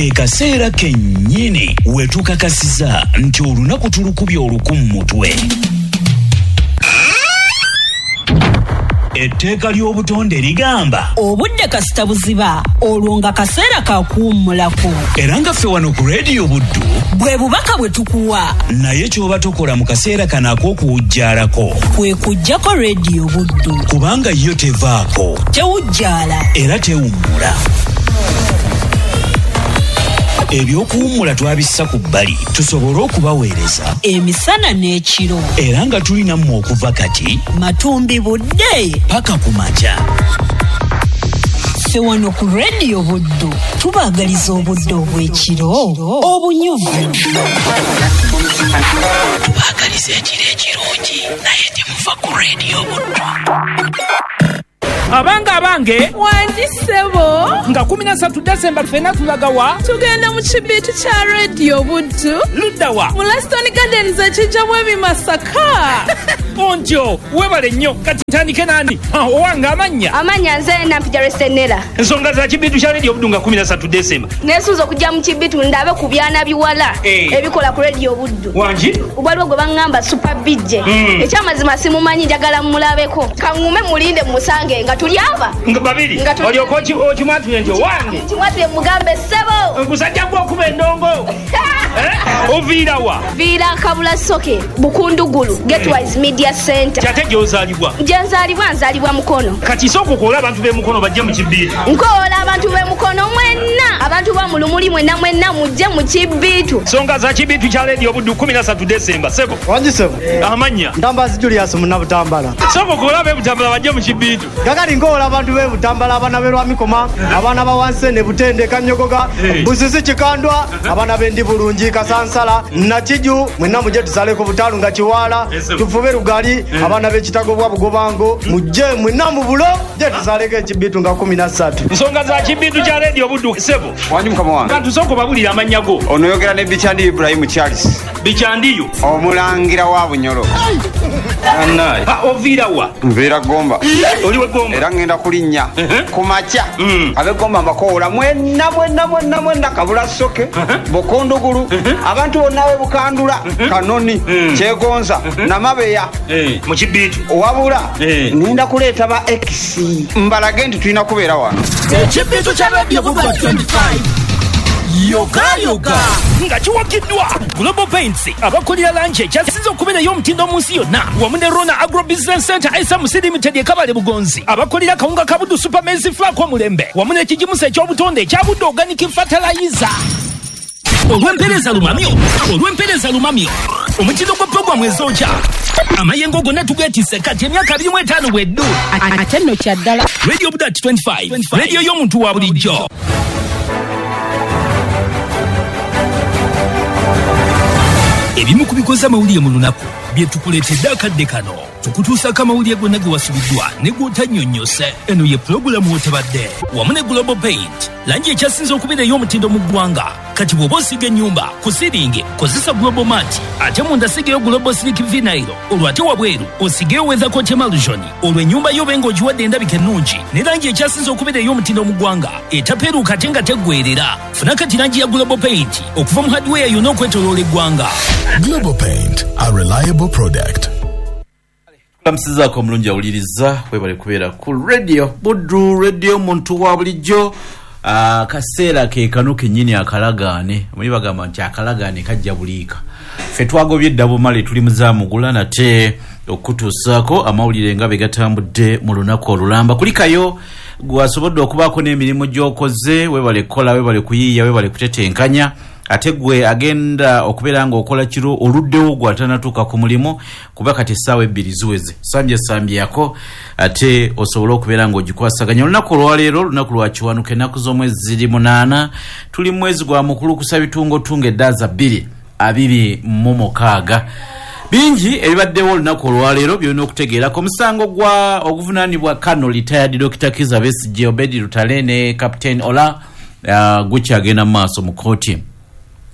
Ekaseera kennyini we tukakasiza nti olunaku tulukubye oluku mu mutwe. Etteeka ly'obutonde ligamba obudde kasita buziba, olwo nga kaseera ka kuwummulako. Era nga ffe wano ku Rediyo Buddu bwe bubaka bwe tukuwa. Naye ky'oba tokola mu kaseera kano ak'okuwujjaalako kwe kuggyako Rediyo Buddu, kubanga yo tevaako, tewujjaala era tewummula. Ebyokuwummula twabissa ku bbali tusobole okubaweereza emisana n'ekiro, era nga tulina mmwe okuva kati matumbi budde paka ku makya. Ffe wano ku Rediyo Buddu tubaagaliza obudde obw'ekiro obunyuvu. Tubaagaliza ekiro ekirungi, naye temuva ku Rediyo Buddu. Abange abange, wangi ssebo, nga 13 Desemba ffenna tulagawa, tugenda mu kibiitu kya Rediyo Buddu. Luddawa? Mu Laston Gardens ekijjamu ebimasaka. Ontyo webale nnyo. Kati ntandike nani? Owange amannya? Amannya nze Nampija Resenera. Ensonga za kibiitu kya Rediyo Buddu nga 13 Desemba. Neesunze okujja mu kibiitu ndabe ku byana biwala ebikola ku Rediyo Buddu. Wangi? Waliwo gwe baŋŋamba Super BJ. Ekyamazima simumanyi, njagala mmulabeko. Kaŋŋume mulinde mmusange nga tuli aba nga babiri. Olyoka okimwatule nti owange. Kimwatule mugambe ssebo. Gusajja gwe okuba endongo. Oviira wa? Viira Kabula Soke, Bukundugulu, Getwise Media Center. Kyate gy'ozaalibwa? Gye nzaalibwa, nzaalibwa Mukono. Kati sooka okoola abantu b'e Mukono bajje mu kibiitu. Nkoola abantu b'e Mukono mwenna, abantu ba mu Lumuli mwenna mwenna mujje mu kibiitu. Nsonga za kibiitu kya Rediyo Buddu 13 Desemba, ssebo. Wangi ssebo. Amannya? Ntambazi Julius Munnabutambala. Sooka okoola ab'e Butambala bajje mu kibiitu. Kakati nkoola abantu b'e Butambala, abaana b'e Lwamikoma, abaana ba Wansene, Butende, Kanyogoga, Busisi, Kikandwa, abaana b'e Bulungi, Kasansala, Nakiju, mwenna mujje tusaleko Butalu nga Kiwaala, tufube Lugali, abaana b'Ekitago bwa Bugobango, mujje mwenna mu bulo, mujje tusaleko ekibiitu nga 13. Nsonga za kibiitu kya Rediyo Buddu, ssebo. Wangi mukama wange. Kantu sooka obabulire amannya go. Ono oyogera ne Bikyandi Ibrahim Charles. Bikyandiyo? Omulangira wa Bunyoro. Oviira wa? Nviira Gomba. Oli we Gomba? Era ngenda kulinnya ku makya. Ab'e Gomba mbakoola mwenna mwenna mwenna mwenna, Kabula Soke, Bukundugulu, abantu bonna b'e Bukandula, Kanoni, Kyegonza, Namabeya. Mu kibiitu. Wabula ngenda kuleeta ba X mbalage nti tulina kubeera wano. Ekibiitu kya Rediyo Buddu 25. Yoga yoga nga kiwagiddwa Global Paints abakolera langi ekyasinze okubeerayo omutindo mu nsi yonna, wamu ne Rona Agro Business Center SMC Limited e Kabale Bugonzi, abakolera kawunga ka Buddu Super Maize Flour omulembe, wamu n'ekigimusa eky'obutonde ekya Buddu Organic Fertilizer. Olw'empeereza lumamyo, olw'empeereza lumamyo, omutindo gwa pulogulaamu ezokya amayengo gonna tugeetisse kati emyaka 25 bweddu. Ate nno kya ddala. Radio Buddu 25, rediyo y'omuntu wa bulijjo. Ebimu ku bikoze amawulire mu lunaku bye tukuleetedde akadde kano. Tukutuusaako amawulire gonna ge wasubiddwa ne gw'otannyonnyose. Eno ye pulogulaamu w'otabadde wamu ne Global Paint, langi ekyasinze okubeera ey'omutindo mu ggwanga. Kati bw'oba osiiga ennyumba ku siringi kozesa Global Mat, ate munda sigayo Global Silk Vinyl, olwo ate wabweru osigeyo Weathercoat Emulsion, olwo ennyumba yo obe ng'ogiwadde endabika ennungi ne langi ekyasinze okubeera ey'omutindo mu ggwanga etapeeruuka ate nga teggweerera. Funa kati langi ya Global Paint okuva mu hardware yonna okwetooloola eggwanga. Global Paint, a reliable product. Kamusizaako omulungi awuliriza, webale kubeera ku Radio Buddu, radio muntu wa bulijjo. Akaseera ke kano kennyini akalagaane. Muli bagamba nti akalagaane kajja buliika. Ffe twagobye edda bumale tuli muzaamugula nate okutuusaako amawulire nga bwe gatambudde mu lunaku olulamba. Kulikayo gwasobodde okubaako n'emirimu gy'okoze, webale kukola, webale kuyiiya, webale kutetenkanya. Ate gwe agenda okubeera ng'okola kiro oluddewo gw'atanatuuka ku mulimu, kuba kati essaawa 2 ziweze sambye sambyako, ate osobole okubeera ng'ogikwasaganya. Olunaku olwaleero lunaku lwa Kiwanuka, ennaku z'omwezi ziri 8, tuli mwezi gwa mukulukusa bitungotungo eddaaza 2026. Bingi ebibaddewo olunaku olwaleero byolina okutegeerako. Omusango gwa oguvunaanibwa Kano retired Dr. Kizza Besigye, Obedi Lutale ne Captain Ola gukyagenda mu maaso mu kkooti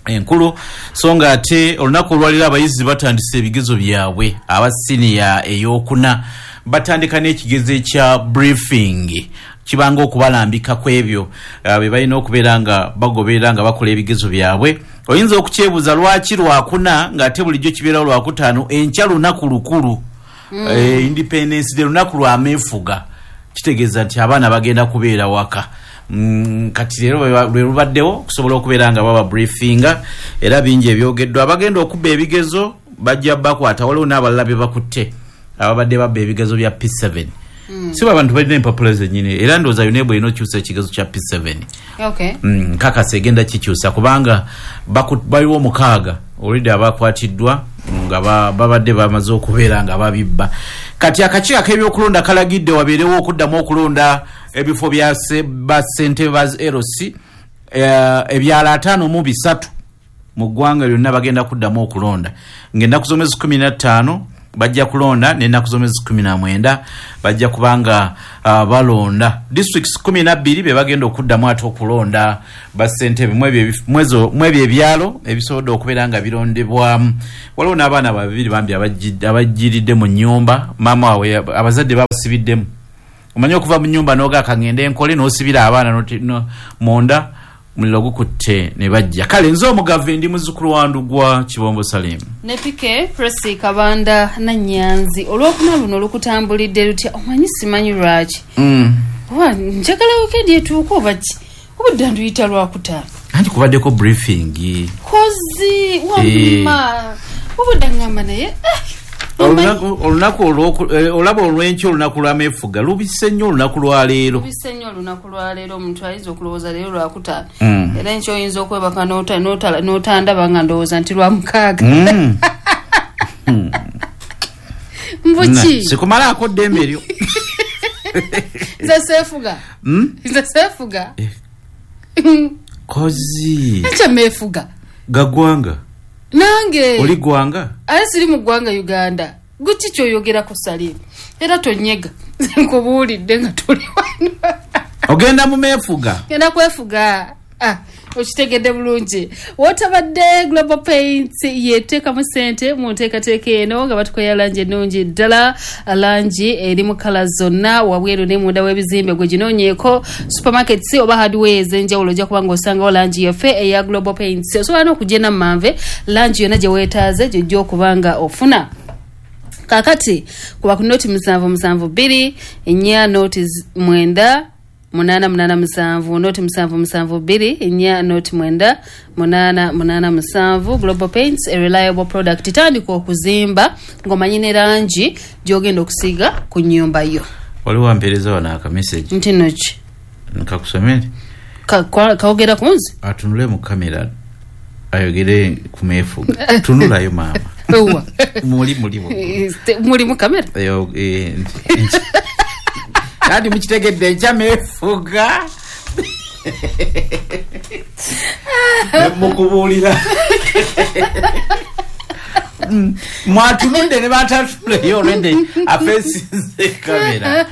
enkulu. So nga ate olunaku olwaleero abayizi batandise ebigezo byabwe aba siniya ey'okuna Batandika n'ekigezo ekya briefing, kibanga okubalambika ku ebyo bye balina okubeera nga bagoberera nga bakola ebigezo byabwe. Oyinza okukyebuuza lwaki Lwakuna ng'ate bulijjo kibeerawo Lwakutaano. Enkya lunaku lukulu, Independence Day, lunaku lwa meefuga, kitegeeza nti abaana bagenda kubeera waka. Kati leero lwe lubaddewo okusobola okubeera nga baba briefinga, era bingi ebyogeddwa. Abagenda okubba ebigezo bajja bakwata, waliwo n'abalala be bakutte ababadde babba ebigezo bya P7. Si abantu balina empapula zennyini, era ndowooza UNEB erina okyusa ekigezo kya P7. Nkakasa egenda kikyusa kubanga baliwo 6 already abakwatiddwa nga babadde bamaze okubeera nga babibba. Kati akakiiko ak'ebyokulonda kalagidde wabeerewo okuddamu okulonda ebifo bya bassentebe ba LC ebyalo 53 mu ggwanga lyonna. Bagenda kuddamu okulonda ng'ennaku z'omwezi 15 bajja kulonda, n'ennaku z'omwezi 19 bajja kubanga balonda. Districts 12 be bagenda okuddamu ate okulonda bassentebe mwebyo ebyalo ebisobodde okubeera nga birondebwamu. Waliwo n'abaana babiri bambi abajjiridde mu nnyumba, maama waabwe abazadde babasibiddemu. Omanyi okuva mu nnyumba n'oga kangende nkole, n'osibira abaana munda, muliro gukutte ne bajja. Kale nze omugave ndi muzzukulu wa Ndugwa Kibombo Salim ne Pike Presi Kabanda Nanyanzi. Olwokuna luno lukutambulidde lutya? Omanyi simanyi lwaki oba njagala wikendi etuuka oba ki, obudde nduyita Lwakutaano. Anti kubaddeko briefing kozi wamma obudde ngamba naye olunaku olaba olw'enkya, olunaku lw'ameefuga lubise nnyo olunaku lwaleero. Lubise nnyo olunaku lwaleero. Omuntu ayinza okulowooza leero Lwakutaano, era enkya oyinza okwebaka n'otandaba nga ndowooza nti Lwamukaaga. Mbuki sikumalaako ddembe eryo. Nze seefuga, nze seefuga. Kozi enkya meefuga gagwanga nange oli gwanga ate siri mu ggwanga Uganda. Guki kyoyogerako Salim? Era tonyega, nkubuulidde nga tuli wano. Ogenda mu meefuga? Genda kwefuga. Okitegedde bulungi. Wotabadde Global Paint yeteekamu ssente mu nteekateeka eno nga batukoya langi ennungi ddala, langi eri mu kala zonna wabweru ne munda w'ebizimbe. Gwe ginoonyeeko supermarkets oba hardware ez'enjawulo, ojja kuba ng'osangawo langi yaffe eya Global Paints. Osobola n'okugenda mu manve, langi yonna gye weetaaze gy'ojja okuba nga ofuna. Kaakati kuba ku 077 4 0 9 8 8 7, 077 4 09 8 8 7. Global Paints, a reliable product. Tandika okuzimba ng'omanyi ne langi gy'ogenda okusiiga ku nnyumba yo. Waliwo ampeereza wano akamessage. Nti nno ki? Nkakusomere. Kawogera ku nze? Atunule mu kamera ayogere ku meefuga. Tunulayo maama. Owa muli muli mu kamera. Kati mukitegedde enkya meefuga nemukubuulira mwatunudde ne batatuleyo olwedde afeesinze kamera.